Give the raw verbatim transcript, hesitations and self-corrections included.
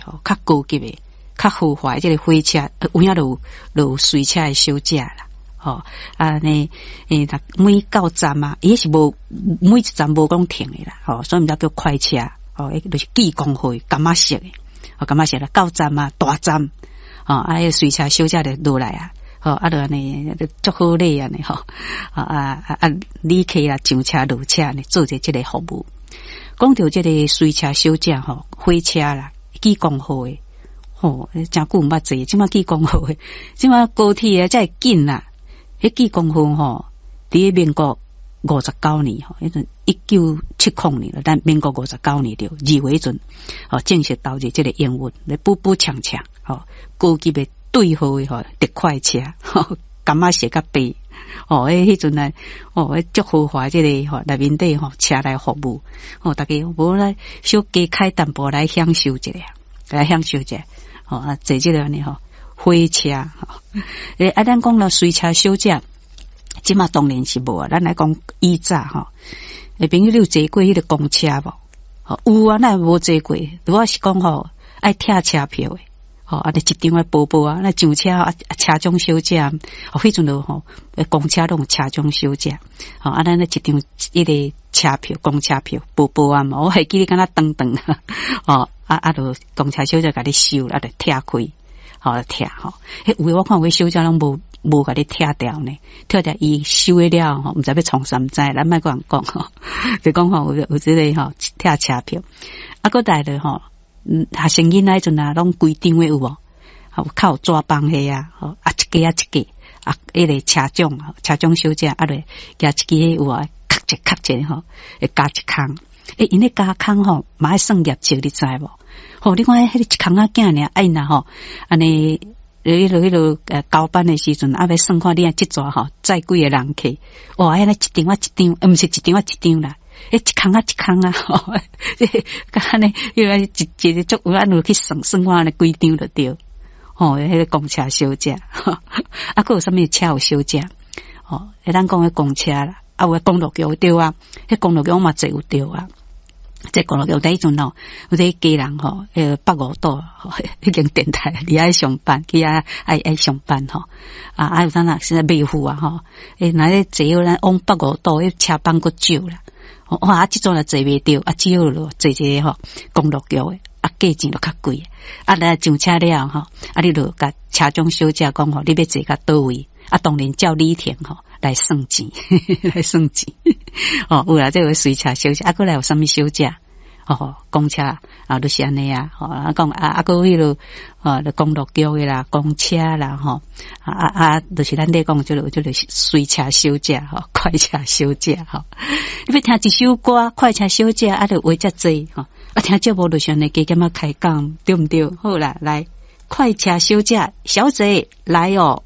吼，較高級的、較豪華的這个火車，有影就有就有隨車的小姐啦，吼，按呢，欸，每到站啊，伊彼是無每一站無講停的啦，吼，所以毋才叫快車，吼，就是濟公號的柑仔色的，吼，柑仔色啦，到站啊，大站，吼，啊，彼隨車小姐就落來啊，吼，啊，就按呢足好禮按呢，吼，啊啊啊，旅客啊上車落車呢，做者這个服務。講著這个隨車小姐吼，火車啦，濟公號的，吼，誠久毋捌坐，這馬濟公號的，這馬高鐵啊，才會緊啦。彼濟公號吼，佇咧民國五十九年吼，彼陣一九七空年，咱民國五十九年著二月彼陣，吼正式投入這个營運，咧補補強強，吼高級的對號的吼特快車，吼柑仔色佮白，吼，彼彼陣啊，哦，足豪華這个吼內面底吼車來服務，吼逐家無來小加開淡薄來享受一下，來享受一下，吼啊坐這个按呢吼火車，吼，欸啊，咱講了隨車小姐，這馬當然是無啊，咱來講以早吼，欸朋友你有坐過彼个公車無？吼有啊，哪會無坐過？如果是講吼愛拆車票的，吼按呢一張的薄薄啊，那上車啊，車長小姐，吼彼陣就吼，公車攏有車長小姐，吼啊，咱咧一張彼个車票，公車票薄薄啊嘛，我還記得敢若長長，吼啊啊，就公車小姐共你收，啊就拆開，吼拆吼，彼有的我看有的小姐攏無無共你拆掉呢，拆掉伊收了吼，毋知欲創啥毋知，咱莫閣人講吼，就講吼有有這个吼拆車票，啊，閣來咧吼。嗯，學生囡仔彼陣啊，攏規張的有無？吼，較有紙枋彼啊，吼啊一格啊一格啊，彼个車長，車長小姐啊，咧舉一支有無？咔一咔一吼，會加一空。欸，𪜶咧加空吼，嘛愛算業績，你知無？吼，你看彼个一空仔囝爾，啊𪜶若吼，按呢，彼个彼个呃交班的時陣，啊欲算看你按這逝吼載幾个人客，哇，按呢一張仔一張，毋是一張仔一張啦。欸，一空仔一空啊，吼，敢按呢，彼个一一个足有按呢去算算看按呢幾張就對，吼，彼个公車小姐，啊，閣有啥物車有小姐？吼，欸，咱講彼公車啦，啊有公路局對啊，彼公路局我嘛坐有著啊。這公路局彼陣吼，有這家人吼，彼个北五島彼間電台佇遐上班，去遐愛愛上班吼，啊啊有當啊是袂赴啊吼，欸，若咧坐咱往北五島，彼車班閣少啦。哇！啊，這陣若坐袂著，啊，只好坐這個吼公路局的，啊，價錢就較貴。啊，來上車了吼，啊，你就共車長小姐講吼，你欲坐到佗位？啊，當然照里程吼來算錢，來算錢。哦，有啦，這個隨車小姐，啊，閣來有啥物小姐？哦，公車啊，就是按呢啊。吼，啊講啊啊，閣彼落哦，公路局的啦，公車啦，吼啊啊啊，就是咱咧講這个這个隨車小姐吼，快車小姐吼。你欲聽一首歌，快車小姐啊，就話遮濟吼。啊，聽節目就是按呢加減仔開講，對毋對？好啦，來，快車小姐，小姐來哦。